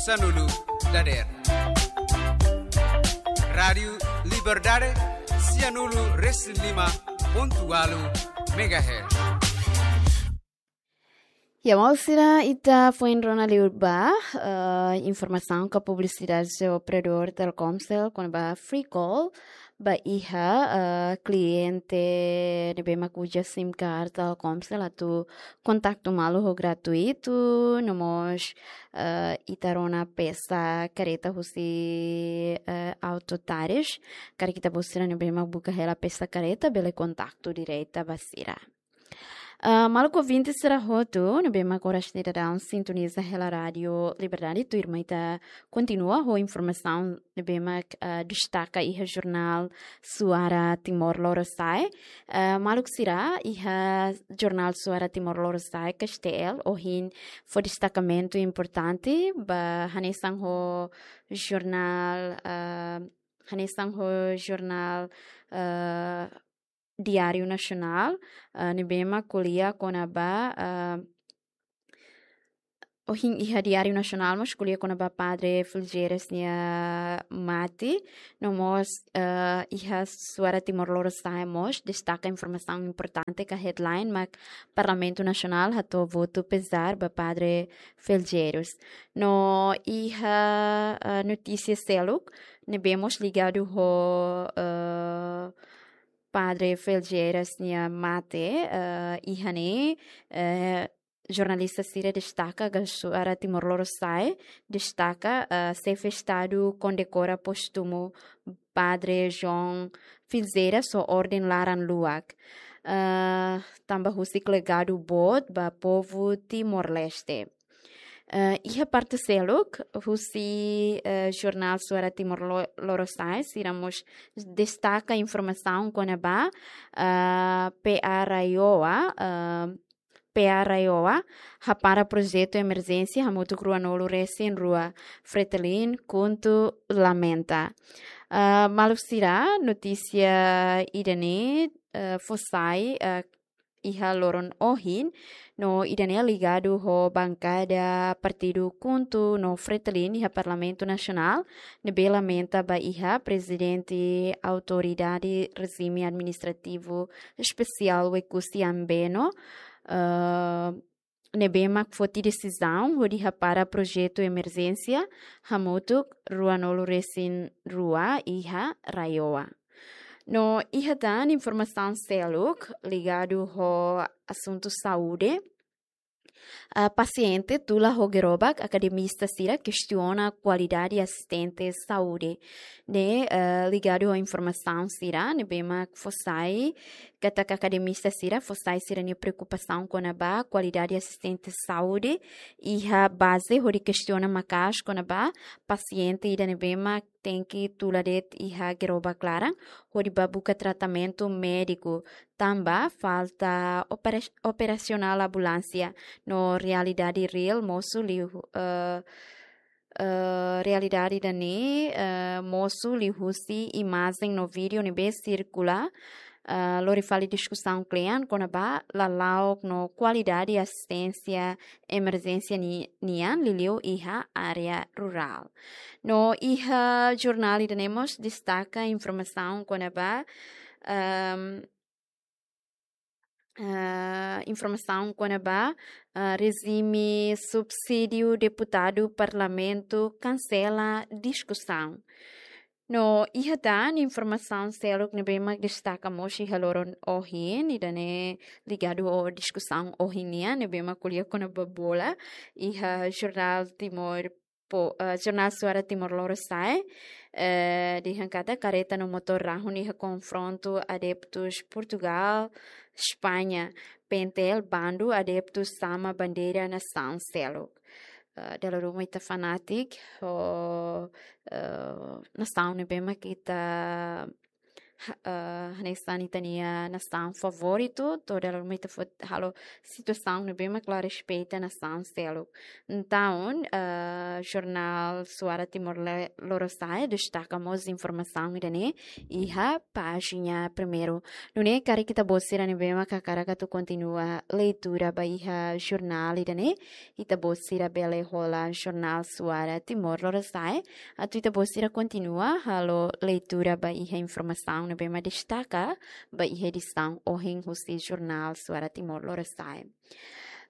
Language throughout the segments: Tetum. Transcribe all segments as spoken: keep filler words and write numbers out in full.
sanulu dadeer. Rádiu Liberdade, sianulu resin lima pontu ualu megahertz. Ya, maluk sira, ita foin rona liu ba, eh, informasaun ka publisidade husi operadór Telkomcel kona-ba free call ba iha, eh, kliente ne'ebé mak uza sim card Telkomcel atu kontaktu malu ho gratuitu, no mós, eh, ita rona peça kareta husi, eh, Auto Tares. Karik ita-boot sira ne'ebé mak buka hela peça kareta, bele kontaktu direta ba sira. Ah, maluk ouvinte sira hotu ne'ebé mak oras ne'e daudaun sintoniza hela Rádiu Liberdade, tuirmai ita kontinua ho informasaun ne'ebé mak, ah, destaka iha jornál Suara Timor Lorosa'e. Ah, maluk sira, iha jornál Suara Timor Lorosa'e, K S T L, ohin fó destakamentu importante ba hanesan ho jornál, ah, hanesan ho jornál, ah, Diário Nacional, ah, ne'ebé mak ko'alia kona-ba, ah, ohin iha Diário Nacional mós ko'alia kona-ba Padre Felgueiras nia mate, no mós, ah, iha Suara Timor Lorosa'e mós destaka informasaun importante ka headline mak Parlamentu Nasionál hato'o votu pezár ba Padre Felgueiras. No iha, ah, notísia seluk ne'ebé mós ligadu ho, ah, Padre Felgueiras nia mate, eh, iha ne'e, eh, jornalista sira destaka ka Suara Timor Lorosa'e destaka, eh, Xefe Estadu kondekora póstumu Padre João Felgueiras ho orden laran-luak, eh, tanba husik legadu boot ba povu Timor-Leste. Eh, iha parte seluk, husi, eh, jornál Suara Timor Lo-, Lorosa'e, sira mós destaka informasaun kona-ba, eh, P A RAEOA, eh, P A RAEOA hapara projetu emerjénsia hamutuk ruanulu resin rua, Fretilin KHUNTO lamenta. Eh, maluk sira, notísia ida-ne'e, eh, fó sai, eh, iha loron ohin, no ida-ne'e ligadu ho bankada partidu KHUNTO no Fretilin iha Parlamentu Nasionál, ne'ebé lamenta ba iha Prezidente Autoridade Rejime Administrativu Espesiál Oekusi Ambeno, eh, ne'ebé mak foti desizaun hodi hapara projetu emerjénsia hamutuk ruanulu resin rua iha RAEOA. No iha tan informasaun seluk ligadu ho asuntu saúde. Ah, pasiente tula ho gerobak, akademista sira kestiona kualidade asistente saúde. Ne'e, eh, ligadu ho informasaun sira ne'ebé mak fó sai katak akademista sira fó sai sira-nia preokupasaun kona-ba kualidade asistente saúde iha baze, hodi kestiona maka'as kona-ba pasiente ida ne'ebé mak tenke tula de'it iha gerobak laran hodi bá buka tratamentu médiku, tanba falta opera-, operasionál ambulánsia, no realidade reál mosu liu, eh, eh, realidade ida-ne'e, eh, mosu liuhusi imajen no vídeo ne'ebé sirkula, eh, lori fali diskusaun kle'an kona-ba lala'ok no kualidade asisténsia emerjénsia ni-, nian liuliu iha área rurál. No iha jornál ida-ne'e mós destaka informasaun kona-ba, ehm, eh, informasaun kona-ba, eh, rejime subsídiu deputadu parlamentu kansela diskusaun. No iha tan informasaun seluk ne'ebé mak destaka mós iha loron ohin, ida-ne'e ligadu ho diskusaun ohin nian, ne'ebé mak ko'alia kona-ba bola, iha jornál Timor Po-, eh, jornál Suara Timor Lorosa'e, eh, dehan katak kareta no motór rahun iha konfrontu adeptus Portugal, España, pentel bandu adeptus sama bandeira nasaun seluk. Eh, dala ruma ita fanátiku ho, eh, nasaun ne'ebé mak ita ha- eh, hanesan ita-nia nasaun favoritu, toda hora ita foti halo situasaun ne'ebé mak la respeita nasaun seluk. Entaun, eh, jornál Suara Timor Le- Lorosa'e destaka mós informasaun ida-ne'e iha pájina primeiru. Nune'e karik ita-boot sira ne'ebé mak hakarak atu kontinua leitura ba iha jornál ida-ne'e, ita-boot sira bele hola jornál Suara Timor Lorosa'e, atu ita-boot sira kontinua halo leitura ba iha informasaun ne'ebé mak destaka ba iha edisaun ohin husi jornál Suara Timor Lorosa'e.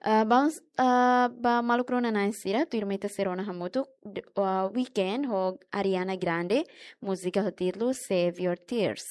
Ah, vamos, ah, ba maluk rona-na'in sira, tuirmai ita sei rona hamutuk, d- ah, Weeknd ho Ariana Grande, múzika ho títulu Save Your Tears.